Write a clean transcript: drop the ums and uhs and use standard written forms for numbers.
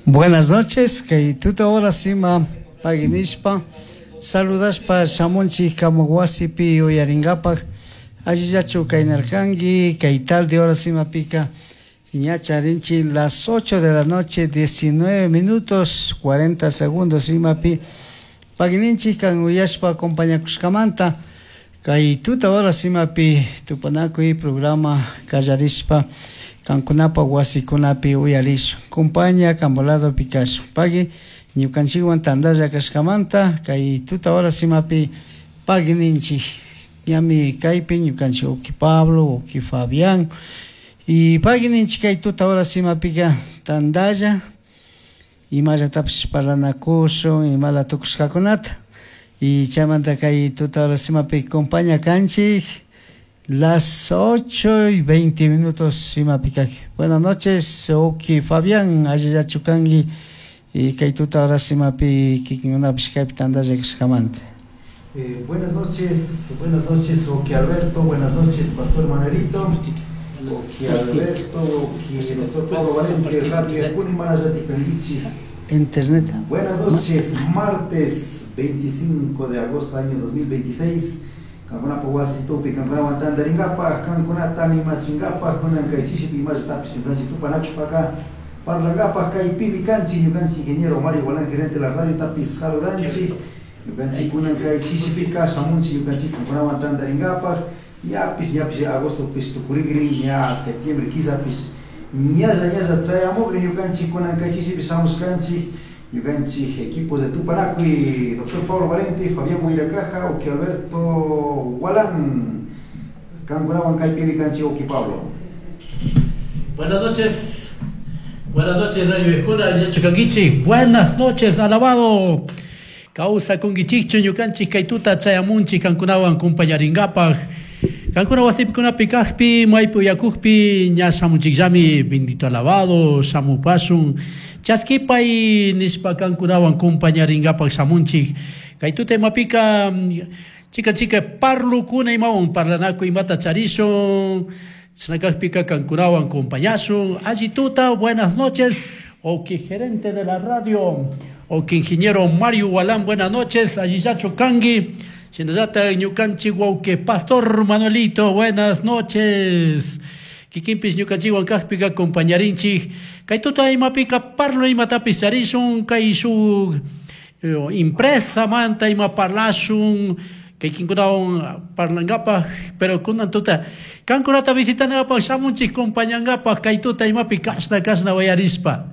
Buenas noches, kay tuta horas ima paginishpa saludashpa shamunchik kamak wasipi uyaringapak allillachu kaynarkanki kay tarde horas imapika ña charinchik las 8 de la noche 19 minutos 40 segundos imapi pagininchik kan uyashpa acompañakushkamanta kay tuta horas imapi tupanakuy programa kallarishpa kankunapa wasikunapi uyarishun compaña kambo kashun pagui ñukanchikwan tantalla kashkamanta kay tuta horas imapi pagui ninchik ñami kaypi ñukanchik uki Pablo uki Fabián y pagui ninchik kay tuta horas imapika tantalla imallatapish parlanakushun imala tukushkakunata y chaymanta kay tuta horas imapi compaña kanchik las 8 y 20 minutos imapi kaki. Buenas noches, Uki Fabián, allillachu kanki y kay tuta horas imapi kikinkunapish kaypi tantalla kashkamanta. Buenas noches, Oki Alberto, buenas noches, Pastor Manuelito, Oki Alberto, Oki Doctor Pablo Valente, Radio Juni Kangichi. Internet. Buenas noches, martes 25 de agosto año 2026. Kankuna wasi tupi kankunawan tantaringapaj, kankunata animachingapaj, kunan kay chishipi imallatapish ñukanchik tupanakushpaka parlangapaj kaypimi kanchik ñukanchik ingeniero Mario Gualán, gerente de la radio tapis saludanchik, ñukanchik kunan kay chishipika shamunchik ñukanchik kankunawan tantaringapaj, ñapish ñapish agosto pish tukurikrin, ña septiembre killapish ñalla ñalla chayamukrin ñukanchik kunan kay chishipi shamushkanchik. Ñukanchik equipos de Tupanacuy, doctor Pablo Valente, Fabián Huiracaja, Oki Alberto Gualán, Kankunawan kaypimi kanchik Oki Pablo. Buenas noches Radio Ejuna, Yachukanguichi. Buenas noches, alabado. Causa kungichikchu ñukanchik kay tuta chayamunchik kankunawan kumpañaringapaj. Kankuna wasipikunapi kajpi, maypi uyakujpi, ña shamunchikllami, bendito alabado, shamupashun. Chaskipay nishpa kankunawan kumpañaringapaj shamunchik. Kay tuta imapika, chika chika parlukuna imawan parlanaku imata charishun. Chnakajpika kankunawan kumpañashun. Alli tuta, buenas noches. Oki gerente de la radio, oki ingeniero Mario Gualán, buenas noches. Allillacho kangi. Shinallata ñukanchik wawqi pastor Manuelito, buenas noches. Kikinpis ñukanchikwan kajpika acompañarinchik. Kay tuta imapika parlo imatapis charishun, kay shuk impresa manta ima parlashun, kay kinkunawan parlangapaj, pero kunan tuta kankunata visitanapaj shamunchik compañangapaj kay tuta imapi kashna kashna wayarishpa.